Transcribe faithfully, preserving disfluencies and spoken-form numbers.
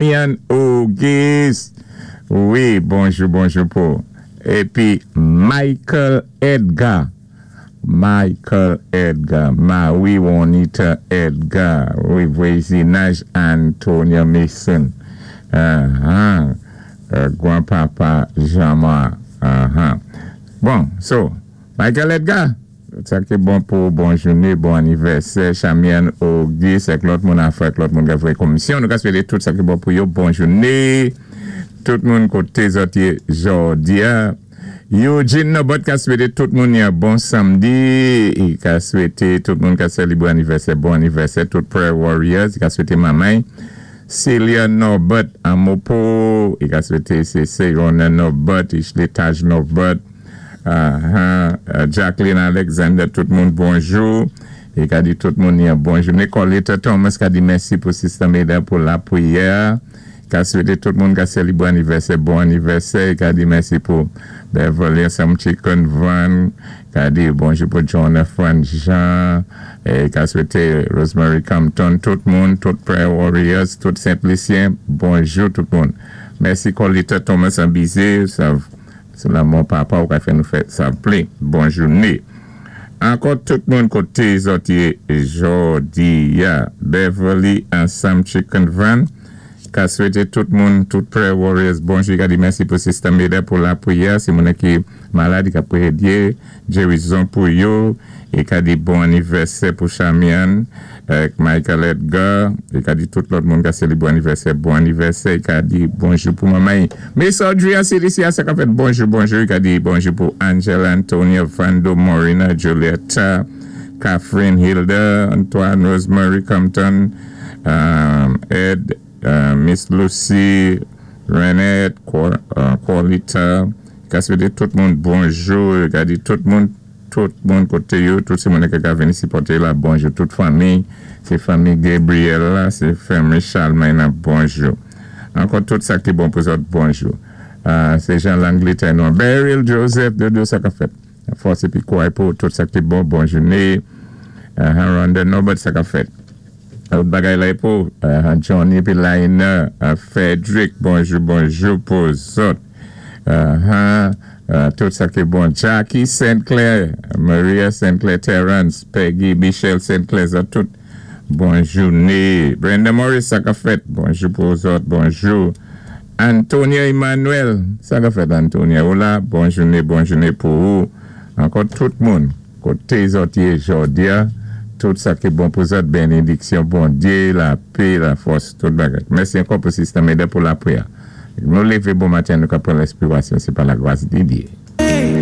Yann Auguste. Wi, bonjou, bonjou pou. Épi Michael Edgar. Michael Edgar. Marie Juanita Edgar. Wi, vwazinaj Antonia Mason. Uh-huh. Uh, gwanpapa Jean-Marc. Uh-huh. Bon, so, Michael Edgar. Sa ki bon pou bon jouné, bon anivèsè, Chamian Auguste, ak lòt moun afè, ak lòt moun ka fè komisyon. Nou ka swété tout sa ki bon pou yo, bon jouné. Tout moun koté zòt yé jòdi-a. Eugene Nobot ka swété tout moun yon bon samdi. I ka swété tout moun ka sélébwé anivèsè, bon anivèsè, tout prayer warriors. I ka swété manmay. Celia Norbert Amopo. I ka swété sé Segona Norbert, Ishley Taj Norbert. Uh-huh. Uh, Jacqueline Alexander, tout moun bonjou. I ka di tout moun yon bonjou. Nicoletta Thomas ka di mèsi pou Sister Meda pou lapriyè. Ka swété tout moun ka sélébwé anivèsè, bon anivèsè. I ka di mèsi pou Beverly Sam Chicken Van. Ka di bonjou pou Jonathan Jean. É ka swété Rosemary Compton, tout moun, tout Prayer Warriors, tout Saint-Lucien, bonjou tout moun. Mèsi Colita Thomas Abizé, sa sé lanmò papa ou ka fè nou fè sa plen. Bon jouné. Ankò tout moun koté zòt yé jòdi-a. Beverly and Sam Chicken Van. Ka swété tout moun, tout Prayer Warriors, bonjou. Ka di mèsi pou Sister Meda pou lapriyè. Si moun ki malad, ka priyé Dye, gérizon pou yo. É ka di bon anivèsè pou Chamian, ak Michael Edgar. É ka di tout lòt moun ka sélébwé anivèsè, bon anivèsè. É ka di bonjou pou manmay. Miss Audrey C D C, sa ka fèt bonjou, bonjou. É ka di bonjou pou Angela, Antonia, Vando, Morina, Julietta, Catherine, Hilda, Antoine, Rosemary Compton, um, Ed, uh, Miss Lucy, Renette, Corlita, ka swété tout moun bonjou, ka di tout moun, tout moun koté yo, tout sé moun ki ka vini sipòté la, bonjou, tout fanmi, sé fanmi Gabriel la, sé fanmi Charlemagne, bonjou. Ankò tout sa ki bon pou zòt, bonjou. Sé Jean Langleterre nou. Beryl Joseph, de sa ka fèt. Fòs épi kouway pou tout sa ki bon, bon jouné. Rhonda Norbert, sa ka fèt. Lòt bagay la pou Johnny pi Laina, Frederick, bonjou, bonjou pou zòt. Tout sa ki bon. Jackie Saint Clair, Maria Saint Clair Terrence, Peggy Michelle Saint Clair, zòt tout bon jouné. Brenda Morris, sa ka fèt. Bonjou pou zòt, bonjou. Antonia Emmanuel, sa ka fèt, Antonia? Hola, bon jouné, bon jouné pou ou. Ankò tout moun, koté zòt yé jòdi-a, tout sa ki bon pou zòt, bénédiksyon, Bondye, lapè, lafòs, tout bagay. Mèsi ankò pou Sister Meda pou lapriyè. Nou lévé bon maten, nou ka pran lespirasyon, sé pa lagras di Dye.